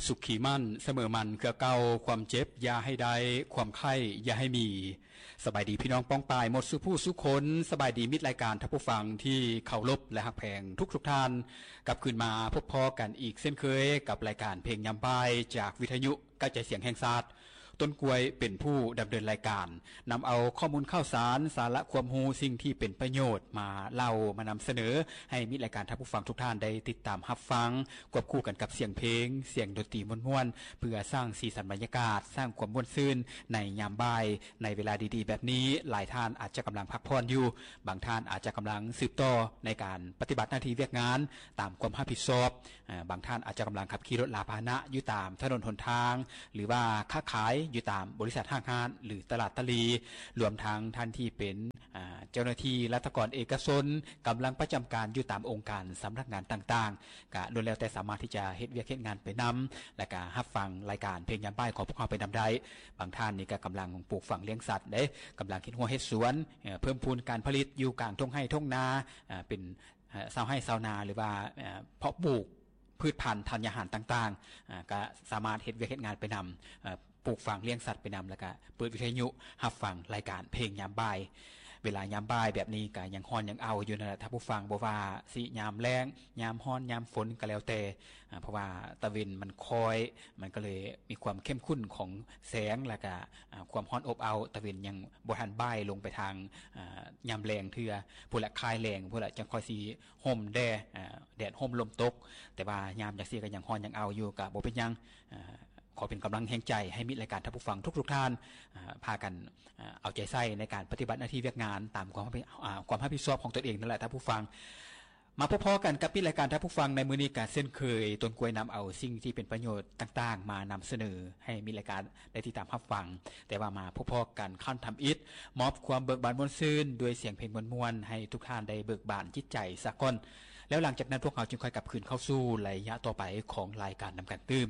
ສຸຂຂີໝັ້ນສະເໝີໝັ້ນເຄືອເກົ່າ, ຄວາມເຈັບຢ່າໃຫ້ໄດ້, ຄວາມໄຂ້ຢ່າໃຫ້ມີ. ສະບາຍດີພີ່ນ້ອງປ້ອງປາຍໝົດສູ່ຜູ້ສູ່ຄົນ, ສະບາຍດີມິດລາຍການທ່ານຜູ້ຟັງທີ່ເຄົາລົບ ແລະ ຮັກແພງທຸກໆທ່ານ. ກັບຄືນມາພົບພໍ້ກັນອີກເຊັ່ນເຄີຍກັບລາຍການເພງຍາມບ່າຍຈາກວິທະຍຸກະຈາຍສຽງແຫ່ງຊາດ. ຕົ້ນກ້ວຍເປັນຜູ້ດຳເນີນລາຍການ, ນຳເອົາຂໍ້ມູນຂ່າວສານ, ສາລະຄວາມຮູ້, ສິ່ງທີ່ເປັນປະໂຫຍດມາເລົ່າມານຳສະເໜີ ໃຫ້ມິດລາຍການທ່ານຜູ້ຟັງທຸກທ່ານໄດ້ຕິດຕາມຮັບຟັງ, ຄວບຄູ່ກັນກັບສຽງເພງ, ສຽງດົນຕີມ່ວນໆ ເພື່ອສ້າງສີສັນບັນຍາກາດ, ສ້າງຄວາມມ່ວນຊື່ນໃນຍາມບ່າຍ. ໃນເວລາດີໆແບບນີ້, ຫຼາຍທ່ານອາດຈະກຳລັງພັກຜ່ອນຢູ່, ບາງທ່ານອາດຈະກຳລັງສືບຕໍ່ໃນການປະຕິບັດໜ້າທີ່ວຽກງານຕາມຄວາມຮັບຜິດຊອບ. ອາ ບາງທ່ານອາດຈະກຳລັງຂັບຂີ່ລົດລາພາຫະນະຢູ່ຕາມຖະໜົນຫົນທາງ ຫຼືວ່າຄ້າຂາຍຢູ່ຕາມບໍລິສັດຫ້າງຮ້ານ ຫຼືຕະຫຼາດຕະຫຼີ່, ລວມທັງທ່ານທີ່ເປັນ ອາ ເຈົ້າໜ້າທີ່ລັດຖະກອນເອກະຊົນ, ກຳລັງປະຈຳການຢູ່ຕາມອົງການສຳນັກງານຕ່າງໆ, ກະລ້ວນແລ້ວແຕ່ສາມາດທີ່ຈະເຮັດວຽກເຮັດງານໄປນຳ ແລະກະຮັບຟັງລາຍການເພງຍາມບ່າຍຂອງພວກເຮົາໄປນຳໄດ້. ບາງທ່ານນີ້ກະກຳລັງປູກຝັງລ້ຽງສັດເດ້, ກຳລັງເຮັດຮົ້ວເຮັດສວນ, ເອີ ເພີ່ມພູນການຜະລິດຢູ່ກາງທົ່ງໄຮ່ທົ່ງນາ, ອາ ເປັນ ເອີ ຊາວໄຮ່ຊາວນາ ຫຼືວ່າ ເອີ ເພາະປູກພືດພັນທານຍາຫານຕ່າງໆ, ອາ ກະສາມາດເຮັດວຽກເຮັດງານໄປນຳ, ເອີ ປູກຝັງລ້ຽງສັດໄປນຳ, ແລ້ວກະເປີດວິທະຍຸຮັບຟັງລາຍການເພງຍາມບ່າຍ. ເວລາຍາມບ່າຍແບບນີ້ກະຍັງຮ້ອນຍັງເອົາຢູ່ນັ້ນແຫຼະທ່ານຜູ້ຟັງ, ບໍ່ວ່າຊິຍາມແລ້ງ, ຍາມຮ້ອນ, ຍາມຝົນກະແລ້ວແຕ່, ອາ ເພາະວ່າຕາເວັນມັນຄ້ອຍ, ມັນກະເລີຍມີຄວາມເຂັ້ມຂຸ້ນຂອງແສງ ແລ້ວກະ ອາ ຄວາມຮ້ອນອົບເອົາ. ຕາເວັນຍັງບໍ່ທັນບ່າຍລົງໄປທາງ ອາ ຍາມແລງເທື່ອ, ພຸ້ນລະ ຄ້າຍແລງພຸ້ນລະ ຈັ່ງຄ່ອຍຊິ ຮົ່ມແດ່ ເອີ ແດດຮົ່ມລົມຕົກ, ແຕ່ວ່າຍາມຈັ່ງຊີ້ກໍຍັງຮ້ອນຍັງເອົາຢູ່ ກໍບໍ່ເປັນຫຍັງ. ເອີ ຂໍເປັນກຳລັງແຮງໃຈໃຫ້ມິດລາຍການທ່ານຜູ້ຟັງທຸກໆທ່ານ, ເອີ ພາກັນ ເອີ ເອົາໃຈໃສ່ໃນການປະຕິບັດໜ້າທີ່ວຽກງານຕາມຄວາມຮັບຜິດ ເອີ ຄວາມຮັບຜິດຊອບຂອງຕົນເອງນັ້ນແຫຼະທ່ານຜູ້ຟັງ. ມາພົບພໍ້ກັນກັບມິດລາຍການທ່ານຜູ້ຟັງໃນມື້ນີ້ ກໍເຊັ່ນເຄີຍ, ຕົ້ນກ້ວຍນຳເອົາສິ່ງທີ່ເປັນປະໂຫຍດຕ່າງໆມານຳສະເໜີໃຫ້ມິດລາຍການໄດ້ຕິດຕາມຮັບຟັງ. ແຕ່ວ່າມາພົບພໍ້ກັນຄັ້ງທຳອິດ, ມອບຄວາມເບີກບານມ່ວນຊື່ນດ້ວຍສຽງເພງມ່ວນໆ ໃຫ້ທຸກທ່ານໄດ້ເບີກບານຈິດໃຈສາກ່ອນ. ແລ້ວຫຼັງຈາກນັ້ນພວກເຮົາຈຶ່ງຄ່ອຍກັບຄືນເຂົ້າສູ່ໄລຍະຕໍ່ໄປຂອງລາຍການນຳກັນຕື່ມ.